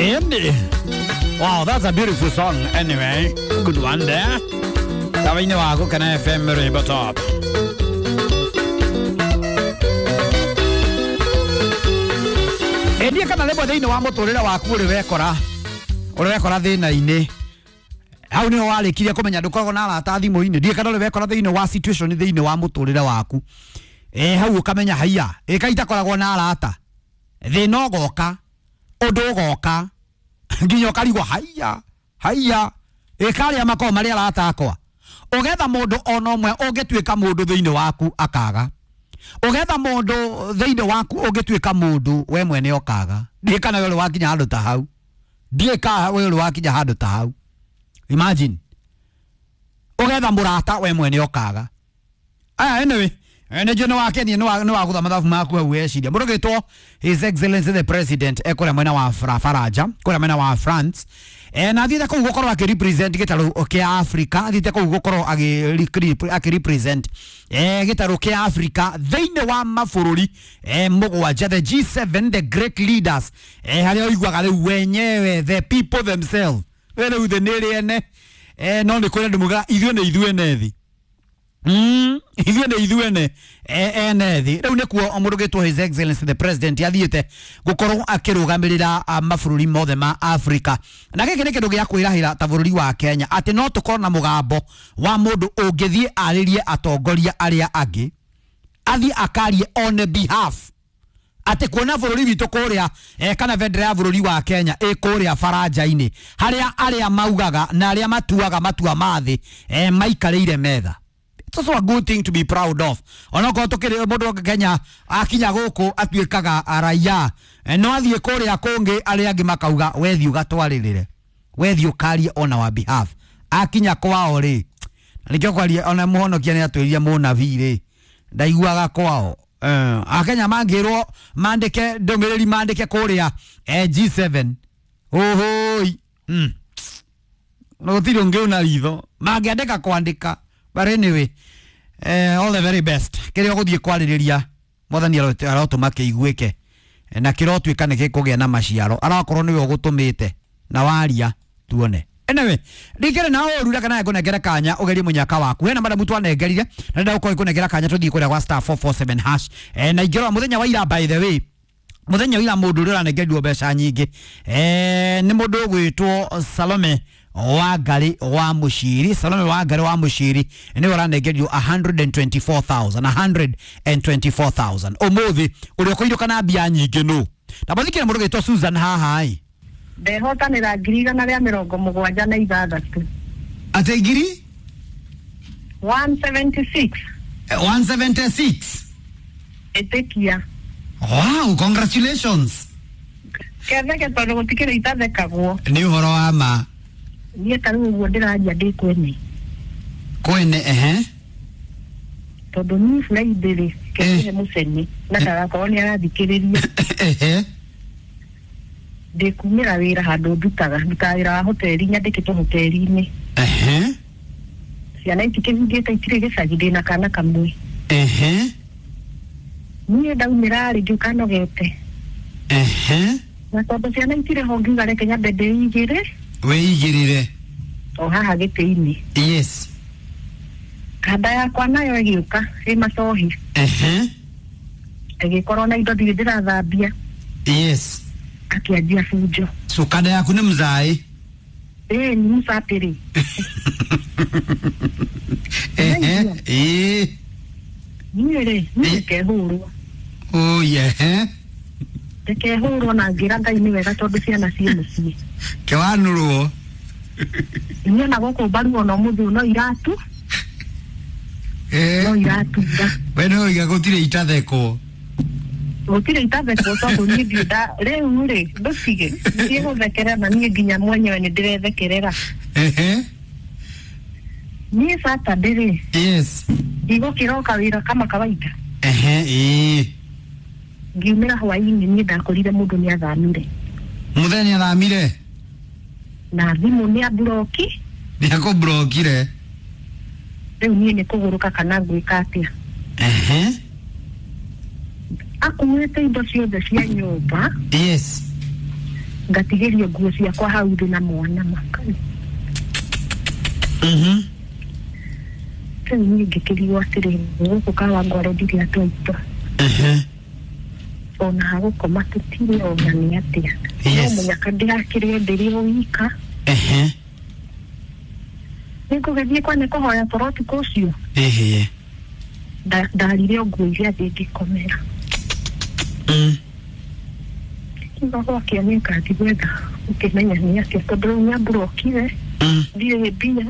Andy. Wow, that's a beautiful song. Anyway, good one there. Tawaini wako kana FM Rainbow Top. Endia kana lebo thiini wa muturire waku uri wekora. Uri wekora thina-ini. Hau niho warikirie kumenya ndukoragwo na arata thimu-ini. Ndiĩ kana uri wekora thiini wa situation thiini wa muturire waku. Hau ukamenya haiya. Ika itakoragwo na arata. Thina ugoka. Undu ugoka. Nginya ukarigwo haiya. Haiya. Ikaria makorwo mari arata akwa. Ugetha mundu ona umwe ungituika mundu thiini waku akaga. Ugetha mundu thiini waku ungituika mundu we mwene okaga. Ndiĩ kana we uri wakinya handu ta hau. Ndiĩ ka we uri wakinya handu ta hau. Imagine. Ugetha murata we mwene okaga. Aya anyway, ene no wake ni no wa gutha mathabu maku hau weciria. Mundu gitwo His Excellency the President ekura mwena wa Faraja, kura mwena wa France. Na athiite kuu gukorwo aki represent gitaru kia Africa, athiite kuu gukorwo aki represent gitaru kia Africa thiini wa mabũrũri mũgwanja, the G7, the great leaders, haria ũiguaga rĩu wenyewe the people themselves. We rĩu thĩ nĩ ĩrĩ ene, no nĩ kũrĩ andũ mugaga ithuĩ nĩ ithuĩ ene thĩ. Ithuĩ nĩ ithuĩ ene ene thĩ. Rĩu nĩkuo mũndũ gĩtwo His Excellency the President athiĩte gũkorwo akĩrũgamĩrĩra mabũrũri mothe ma Africa. Na gĩkĩ nĩ kĩndũ gĩa kwĩrahĩra ta bũrũri wa Kenya atĩ no tũkorwo na mũgambo wa mũndũ ũngĩthiĩ arĩrie atongoria arĩa angĩ, athiĩ akarie on behalf atĩ kuona bũrũri witũ kũrĩa kana bendera ya bũrũri wa Kenya ĩ kũrĩa baranja-inĩ harĩa arĩa maugaga na arĩa matuaga matua ma thĩ maikarĩire metha. It's also a good thing to be proud of. Onokorwo tukiri mundu wa Kenya akinya guku atuikaga raia, no athie kuria kungi aria angi makauga wethi ugatwaririre, wethi ukarie on our behalf. Akinya kwao ri nikio kwaria ona muhonokia ni atwirire munabii ri ndaiguaga kwao. Akenya mangirwo mandike ndumiriri mandike kuria G7 ohoi no gutiri ungi una ritho mangiandika kwandika. But anyway, all the very best. Kĩrĩa ũgũthiĩ kwarĩrĩria mwathani arotũma kĩiguĩke na kĩrotuĩka nĩ gĩkũgĩa na maciaro, arakorwo nĩwe ũgũtũmĩte na waria tuone. Anyway, ndikĩrĩ na ũru reke nawe ngũnengere kanya ũgerie mũnyaka waku. Hena madamu twanengerire na ndĩrenda gũkorwo ngũnengera kanya tũthiĩ kũrĩa gwa star 447 hash. Na ingĩrora mũthenya wa ira, by the way, mũthenya wa ira mũndũ ũrĩa ũranengerirwo mbeca nyingĩ nĩ mũndũ ũgwĩtwo Salome Wangari wa Mushiri. Salome Wangari wa Mushiri niwe ũranengerio 124,000, 124,000 ũmũthĩ ũrĩa ũkũirũka na mbia nyingĩ nũ. Na mũthikĩre mũndũ ũgwĩtwo Susan haha ĩ. Ndehotanĩra 176,000. Atĩ ngiri 176. 176. Ĩtĩkia. Wow, congratulations. Ketheke tondũ gũtikĩrĩ itathekagwo. Nĩ ũhoro wa ma. Niĩ ta rĩu ũguo ndĩraria ndĩ kwene. Kwene ehe. Tondũ niĩ Friday rĩ, kĩhe mũcene na ndagakorwo nĩ arathikĩrĩria. Ehe. Ndĩkumĩra wĩra handũ ndutaga, ndutaga wĩra wa hoteli, nyandĩkĩtwo hoteli-inĩ. Ehe. Ciana itikĩhingĩte itirĩ gĩcagi, ndĩna kana kamwe. Ehe. Niĩ ndaumĩra rĩ ngĩũka nogete. Ehe. Na tondũ ciana itirĩ ho ngiuga reke nyambe ndĩigĩre. Wĩigĩrĩre. O haha gĩtĩ-inĩ. Yes. Kanda yakwa nayo ĩgĩũka ĩ macohi. Ehe. Ĩgĩkorwo na indo ndirĩ ndĩrathambia. Yes. Akĩanjia bunjo. So kanda yaku nĩ mzaĩ? Ĩĩ nĩ mũcatĩrĩ. Ehe. Ĩĩ. Niĩ rĩ, niĩ ndikehũrwo. Oh yeah. Ndikehũrwo na ngĩra Ngai nĩ wega tondũ ciana ciĩ mũciĩ. Kĩwanũrwo. Niĩ ona gũkũ mbaru ona ũmũthĩ no iratu. No iratura. We no iga gũtirĩ itathekwo. Gũtirĩ itathekwo tondũ niĩ ndirĩ nda rĩu rĩ ndũtige ndiĩ gũthekerera na niĩ nginya mwenyewe nĩ ndĩrethekerera. Ehe. Niĩ Saturday rĩ. Yes. Ndigũkĩroka wĩra kama kawaida. Ehe, ĩĩ. Ngiumĩra hwaĩ-inĩ niĩ ndakorire mũndũ nĩ athamire. Mũthenya athamire? Na thimũ nĩ amburoki. Nĩ akũmburokire. Rĩu niĩ nĩ kũgũrũka kana ngwĩka atĩa. Ehe. Akuĩte indo ciothe cia nyũmba. Yes. Ngatigĩrio nguo ciakwa hau thĩ na mwana makai. Rĩu niĩ ngĩkĩrigwo atĩrĩrĩ, gũkũ Kawangware ndirĩ andũ aitũ. Ona ha gũkoma tũtirĩ ona nĩ atĩa. Yes. No mũnyaka ndĩrakĩrĩo ndĩrĩ o wika. Nĩngũgĩthiĩ kwa nĩ kũhoya toro ũtukũ ũcio. Ndarire o nguo iria thĩ ngĩkomera. Kiuga gwakĩa nĩngathiĩ gwetha ũkĩmenya nĩ atĩa tondũ rĩu nĩamburokire ndirĩ mbia.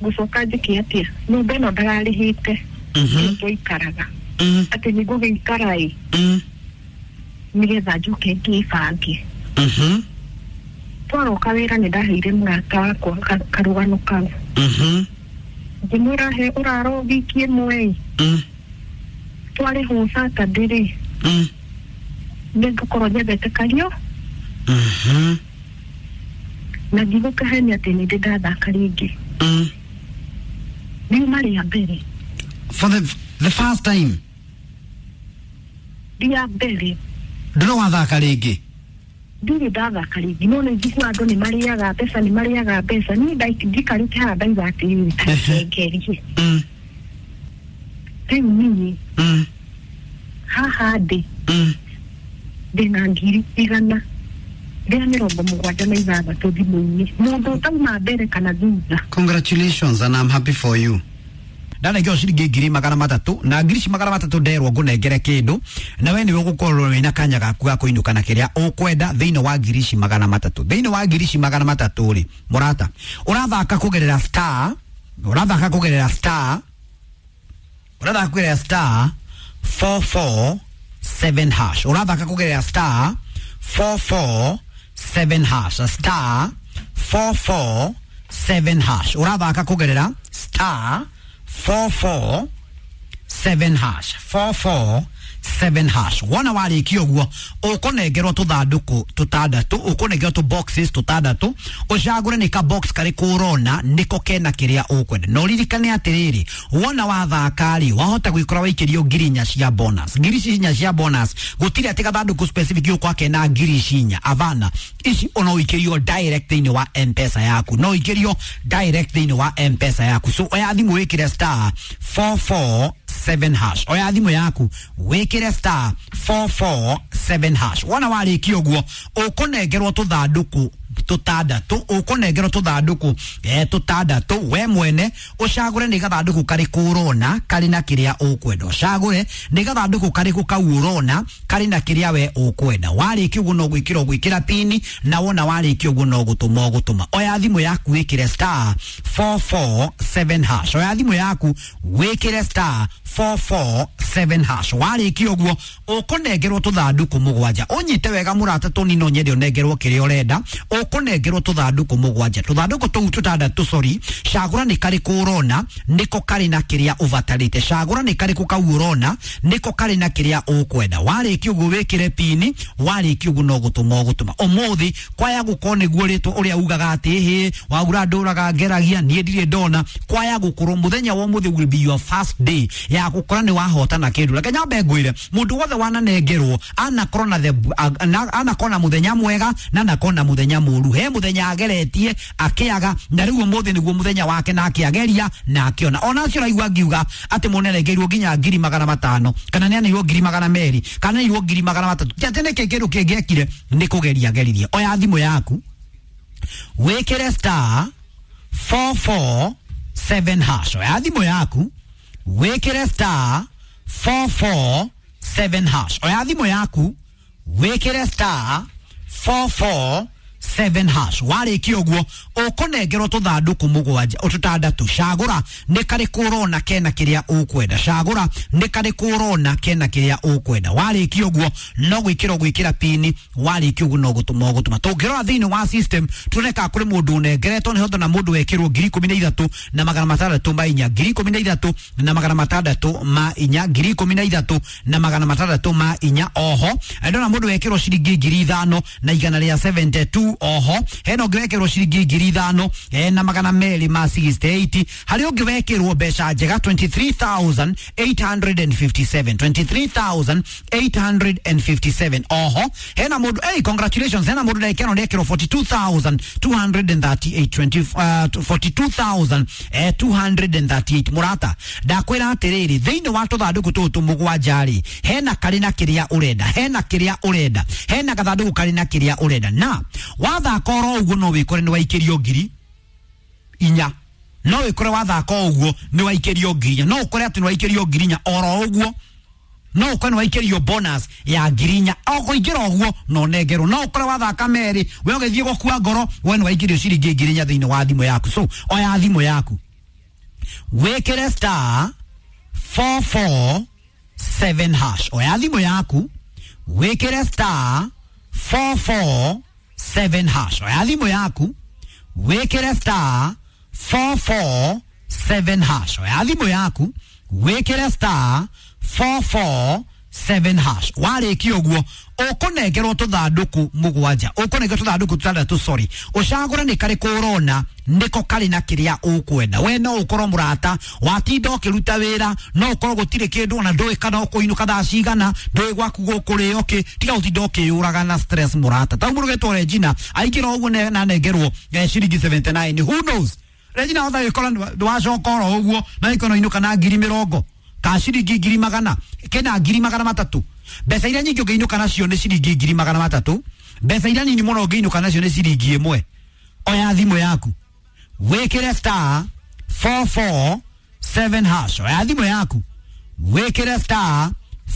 Ngũcoka njĩke atĩa? Nyũmba ĩno ndararĩhĩte twaikaraga atĩ nĩngũgĩikara ĩ nĩgetha njoke ngĩbange. Twaroka wĩra nĩ ndaheire mũrata wakwa karũgano kau. Ngĩmwĩra he ũraro wiki ĩmwe ĩ twarĩhwo Saturday rĩ nĩngũkorwo nyethete kario na ndigũkahenia atĩ nĩ ndĩ ndathaka rĩngĩ. Riuma rĩa mbere. For the first time. Rĩa mbere. Ndũrĩ wathaka rĩngĩ? Ndirĩ ndathaka rĩngĩ no nĩ njiguaga andũ nĩ marĩaga mbeca nĩ marĩaga mbeca niĩ njikarĩte haha ndauga atĩrĩrĩ ta ngerie. Rĩu niĩ haha ndĩ ndĩna 176,000 thimũ-inĩ mũndũ ũtauma mbere kana thutha. Congratulations and I'm happy for you. Ndanengeo ciringi 300,000 na ngiri ici 300 nderwo ngũnengere kĩndũ na we nĩwe ũgũkorwo wĩna kanya gaku ga kũinũka na kĩrĩa ũkwenda thĩinĩ wa ngiri ici 300. Thĩinĩ wa ngiri ici 300 rĩ mũrata ũrathaka kũgerera star ũrathaka kũgerera star ũrathaka kũgerera star 447 hash ũrathaka kũgerera star 447 hash star 447 hash ũrathaka kũgerera star 447 hash 447 hash wona warĩkia ũguo ũkũnengerwo tũthandũkũ tũtandatũ ũkũnengerwo tũ boxes tũtandatũ ũcagũre nĩ ka box karĩkũ ũrona nĩko kena kĩrĩa ũkwenda na ũririkane atĩrĩrĩ wona wathaka rĩ wahota gwĩkora waikĩrio 4,000 cia bonus ngiri ici inya cia bonus gũtirĩ atĩ gathandũkũ specific gũkwa kena ngiri ici inya avana ici ona ũikĩrio direct thĩinĩ wa M-Pesa yaku no ũikĩrio direct thĩinĩ wa M-Pesa yaku so oya thimũ wĩkĩre star 447 hash oya thimũ yaku wĩkĩre star 447 hash wona warĩkia ũguo ũkũnengerwo tũthandũkũ tũtandatũ ũkũnengerwo tũthandũkũ tũtandatũ we mwene ũcagũre nĩ gathandũkũ karĩkũ ũrona karĩ na kĩrĩa ũkwenda ũcagũre nĩ gathandũkũ karĩkũ kau ũrona karĩ na kĩrĩa we ũkwenda warĩkia ũguo no gwĩkĩra ũgwĩkĩra pini na wona warĩkia ũguo no gũtũma ũgũtũma oya thimũ yaku wĩkĩre star 447 hash oya thimũ yaku wĩkĩre star 447 hash warĩkia ũguo ũkũnengerwo tũthandũkũ mũgwanja ũnyite wega mũrata tũnini no nyende ũnengerwo kĩrĩa ũrenda ũkũnengerwo tũthandũkũ mũgwanja tũthandũkũ tũu tũtandatũ sorry cagũra nĩ karĩkũ ũrona nĩko karĩ na kĩrĩa ũbatarĩte cagũra nĩ karĩkũ kau ũrona nĩko karĩ na kĩrĩa ũkwenda warĩkia ũguo wĩkĩre pini warĩkia ũguo no gũtũma ũgũtũma ũmũthĩ kwaya gũkorwo nĩguo rĩtwa ũrĩa ugaga atĩ hĩ waura ndũraga ngeragia niĩ ndirĩ ndona kwaya gũkorwo mũthenya wa ũmũthĩ will be your first day ya gũkora nĩ wahotana kĩndũ reke nyambe ngwĩre mũndũ wothe wananengerwo anakorwo na anakorwo na mũthenya mwega na anakorwo na mũthenya mũru he mũthenya ageretie akĩaga na rĩu ũmũthĩ nĩguo mũthenya wake na akĩageria na akĩona ona acio ũraigua ngiuga atĩ mũndũ nĩarengeirwo nginya 500,000 kana nĩaneirwo 200,000 kana nĩaneirwo 300,000 ti atĩ nĩkĩ kĩndũ kĩngĩ ekire nĩ kũgeria ageririe oya thimũ yaku wĩkĩre star 447 hash oya thimũ yaku wĩkĩre star 447 hash oya thimũ yaku wĩkĩre star 447 hash warĩkia ũguo ũkũnengerwo tũthandũkũ mũgwanja tũtandatũ cagũra nĩ karĩkũ ũrona kena kĩrĩa ũkwenda cagũra nĩ karĩkũ ũrona kena kĩrĩa ũkwenda warĩkia ũguo no gwĩkĩra ũgwĩkĩra pini warĩkia ũguo no gũtũma ũgũtũma tũngĩrora thĩinĩ wa system tuone kana kũrĩ mũndũ ũnengeretwo nĩ hotona mũndũ wekĩrwo 13,604 13,604 13,604 oho ndona mũndũ wekĩrwo ciringi 5,172 22 oho hena ũngĩ wekĩrwo ciringi 5,000 na magana merĩ ma 68. Harĩ ũngĩ wekĩrwo mbeca njega 23,857, 23,857 oho hena mũndũ, hey, congratulations, hena mũndũ ndagĩka ĩno nĩekĩrwo 42,238, 42,238. Mũrata, ndakwĩra atĩrĩrĩ, thĩinĩ wa tũthandũkũ tũtũ mũgwanja rĩ, hena karĩ na kĩrĩa ũrenda, hena kĩrĩa ũrenda, hena gathandũkũ karĩ na kĩrĩa ũrenda, na wathaka oro ũguo no wĩkore nĩ waikĩrio 4,000, no wĩkore wathaka ũguo nĩ waikĩrio 4,000, no ũkore atĩ nĩ waikĩrio 4,000 oro ũguo, no ũkore nĩ waikĩrio bonus ya 4,000 o kũingĩra ũguo no nengerwo, no ũkore wathaka merĩ we ũgĩthiĩ gũkua ngoro we nĩ waikĩrio ciringi 4,000 thĩinĩ wa thimũ yaku. So oya thimũ yaku wĩkĩre star 447 hash, oya thimũ yaku wĩkĩre star 447 hash, oya thimũ yaku wĩkĩre star 447 hash, oya thimũ yaku wĩkĩre star 447 hash. Warĩkia ũguo ũkũnengerwo tũthandũkũ mũgwanja, ũkũnengerwo tũthandũkũ tũtandatũ, sorry, ũcagũre nĩ karĩkũ ũrona nĩko karĩ na kĩrĩa ũkwenda. We no ũkorwo mũrata watinda ũkĩruta wĩra, no ũkorwo gũtirĩ kĩndũ ona ndũĩ kana ũkũinũka thaa cigana, ndũĩ gwaku gũkũrĩo kĩ, tiga gũtinda ũkĩyũraga na stress mũrata. Ta mũndũ ũgetwo Regina aingĩra ũguo na anengerwo ciringi 79, who knows, Regina hota gĩkora ndwacoka oro ũguo na ĩkono inũka na 20,000 ka ciringi 100,000 kena 300,000. Mbeca iria nyingĩ ũngĩinũka nacio nĩ ciringi 300,000, mbeca iria nini mũno ũngĩinũka nacio nĩ ciringi 1. Oya thimũ yaku wĩkĩre star 447 hash, oya thimũ yaku wĩkĩre star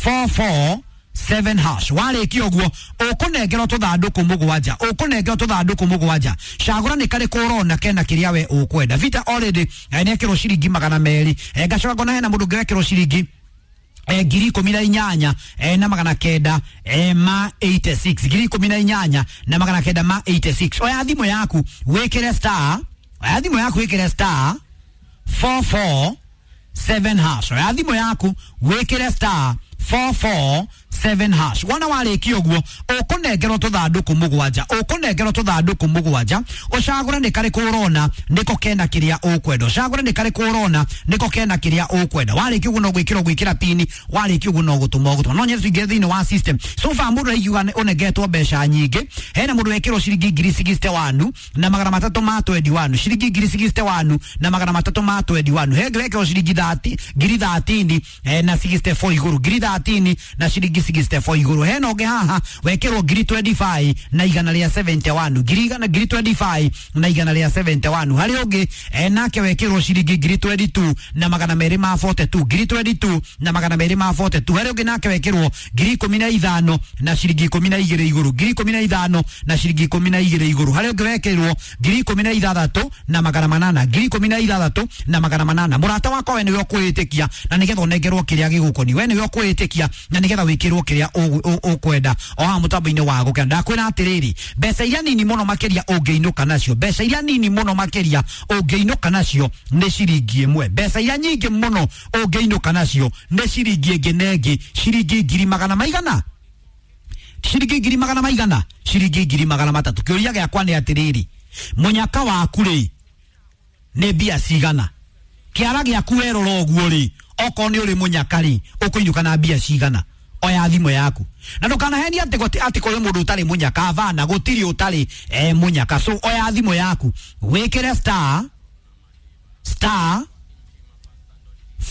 447 hash. Warĩkia ũguo ũkũnengerwo tũthandũkũ mũgwanja, ũkũnengerwo tũthandũkũ mũgwanja, cagũra nĩ karĩkũ ũrona kena kĩrĩa we ũkwenda. Vita already nĩekĩrwo ciringi 200, ngacoka ngona hena mũndũ ũngĩ wekĩrwo ciringi 18,986, 18,986. Oya thimũ yaku wĩkĩre star, oya thimũ yaku wĩkĩre star 447 hash, oya thimũ yaku wĩkĩre star 447 hash. Wona warĩkia ũguo ũkũnengerwo tũthandũkũ mũgwanja, ũkũnengerwo tũthandũkũ mũgwanja, ũcagũre nĩ karĩkũ ũrona nĩko kena kĩrĩa ũkwenda, ũcagũre nĩ karĩkũ ũrona nĩko kena kĩrĩa ũkwenda. Warĩkia ũguo no gwĩkĩra gwĩkĩra pini, warĩkia ũguo no gũtũma ũgũtũma. No nyende tũingĩre thĩinĩ wa system. So far mũndũ araigua ũnengetwo mbeca nyingĩ, hena mũndũ wekĩrwo ciringi 61 na magana matatũ ma 21, ciringi 61 na magana matatũ ma 21, he wekĩrwo ciringi 30 na 64 igũrũ, 30 na ciringi 64 igũrũ. Hena ũngĩ haha wekĩrwo 25 na igana rĩa 71, 25 na igana rĩa 71. Harĩ ũngĩ nake wekĩrwo ciringi 22 na magana merĩ ma 42, 22 na magana merĩ ma 42. Harĩ ũngĩ nake wekĩrwo 15 na ciringi 12 igũrũ, 15 na ciringi 12 igũrũ. Harĩ ũngĩ wekĩrwo 16 na magana manana, 16 na magana manana. Mũrata wakwa we nĩwe ũkwĩĩtĩkia na nĩgetha ũnengerwo kĩrĩa gĩgũkoniĩ, we nĩwe ũkwĩĩtĩkia na nĩgetha wĩkĩrwo kĩrĩa ũkwenda o haha mũtambo-inĩ wa gũkena. Ndakwĩra atĩrĩrĩ, mbeca iria nini mũno makĩria ũngĩinũka nacio, mbeca iria nini mũno makĩria ũngĩinũka nacio nĩ ciringi 1, mbeca iria nyingĩ mũno ũngĩinũka nacio nĩ ciringi ĩngĩ na ĩngĩ, ciringi ngiri magana maigana, ciringi ngiri magana maigana, ciringi 300,000. Kĩũria gĩakwa nĩ atĩrĩrĩ, mũnyaka waku rĩ nĩ mbia cigana? Kĩara gĩaku werora ũguo rĩ, okorwo nĩ ũrĩ mũnyaka rĩ, ũkũinũka na mbia cigana? Oya thimũ yaku na ndũkanahenie atĩ atĩ kũrĩ mũndũ ũtarĩ mũnyaka, bana gũtirĩ ũtarĩ mũnyaka. So oya thimũ yaku wĩkĩre star star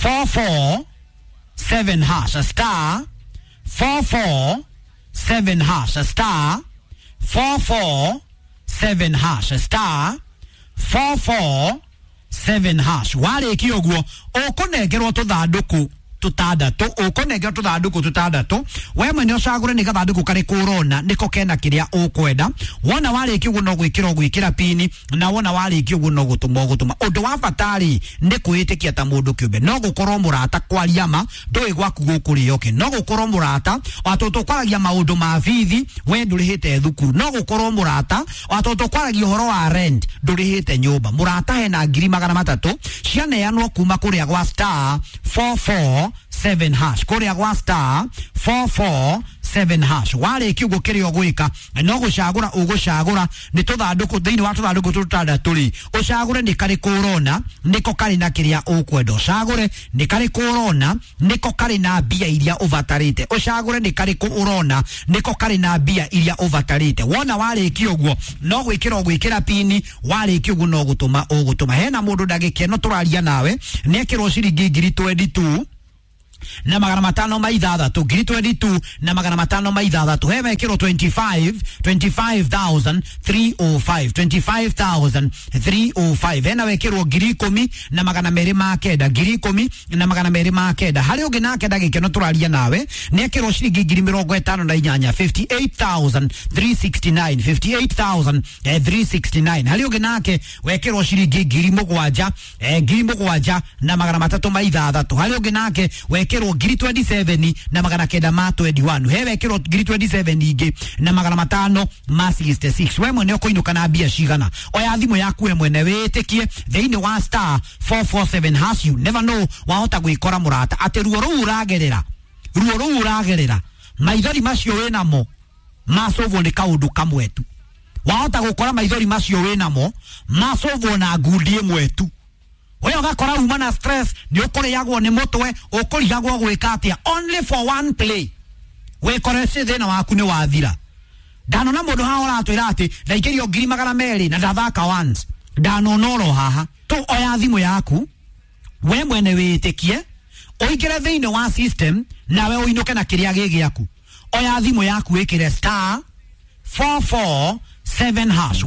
447 hash, star 447 hash, star 447 hash, star 447 hash. Warĩkia ũguo ũkũnengerwo tũthandũkũ tũtandatũ, ũkũnengerwo tũthandũkũ tũtandatũ, we mwene ũcagũre nĩ gathandũkũ karĩkũ ũrona nĩko kena kĩrĩa ũkwenda. Wona warĩkia ũguo no gwĩkĩra ũgwĩkĩra pini, na wona warĩkia ũguo no gũtũma ũgũtũma. Ũndũ wa bata rĩ nĩ kwĩĩtĩkia ta mũndũ kĩũmbe, no gũkorwo mũrata kwaria ma ndũĩ gwaku gũkũrĩo kĩ, no gũkorwo mũrata watũ tũkwaragia maũndũ ma bithi we ndũrĩhĩte thukuru, no gũkorwo mũrata watũ tũkwaragia ũhoro wa rent ndũrĩhĩte nyũmba. Mũrata hena 300,000 cianeanwo kuma kũrĩa gwa star 447 hash, kũrĩa gwa star 447 7 hash. Warĩkia ũguo kĩrĩa ũgwĩka no gũcagũra ũgũcagũra nĩ tũthandũkũ thĩinĩ wa tũthandũkũ tũtandatũ rĩ, ũcagũre nĩ karĩkũ ũrona nĩko karĩ na kĩrĩa ũkwenda, ũcagũre nĩ karĩkũ ũrona nĩko karĩ na mbia iria ũbatarĩte, ũcagũre nĩ karĩkũ ũrona nĩko karĩ na mbia iria ũbatarĩte. Wona warĩkia ũguo no gwĩkĩra ũgwĩkĩra pini, warĩkia ũguo no gũtũma ũgũtũma. Hena mũndũ ndagĩka ĩno tũraria nawe nĩekĩrwo ciringi 22,500 na magana matano ma ithathatũ, 22,500 na magana matano ma ithathatũ. He mekĩrwo 25,305, 25,305. Hena wekĩrwo 10,209, 10,209. Harĩ ũngĩ nake ndagĩka ĩno tũraria nawe nĩekĩrwo ciringi 58,000, 58,369, 58,369. Harĩ ũngĩ nake wekĩrwo ciringi 7,000, 7,306. Harĩ ũngĩ nake wekĩrwo 27 na magana kenda ma 21. He wekĩrwo 27 ingĩ na magana matano ma 66. We mwene ũkũinũka na mbia cigana? Oya thimũ yaku we mwene wĩtĩkie thĩinĩ wa star 447 hash. You never know, wahota gwĩkora mũrata atĩ ruo rũu ũragerera, ruo rũu ũragerera, maithori macio wĩnamo macũvwo nĩ kaũndũ kamwe tu. Wahota gũkora maithori macio wĩnamo macũvwo na ngundi ĩmwe tu. We ũgakora uma na stress, nĩ ũkũrĩagwo nĩ mũtwe, ũkũrigagwo gwĩka atĩa, only for one play wĩkore ci thĩna waku nĩ wathira. Ndanona mũndũ haha ũratwĩra atĩ ndaikĩrio 200,000 na ndathaka once. Ndanona oro haha tu. Oya thimũ yaku we mwene wĩtĩkie, ũingĩre thĩinĩ wa system nawe ũinũke na kĩrĩa gĩ gĩaku. Oya thimũ yaku wĩkĩre star 447 hash.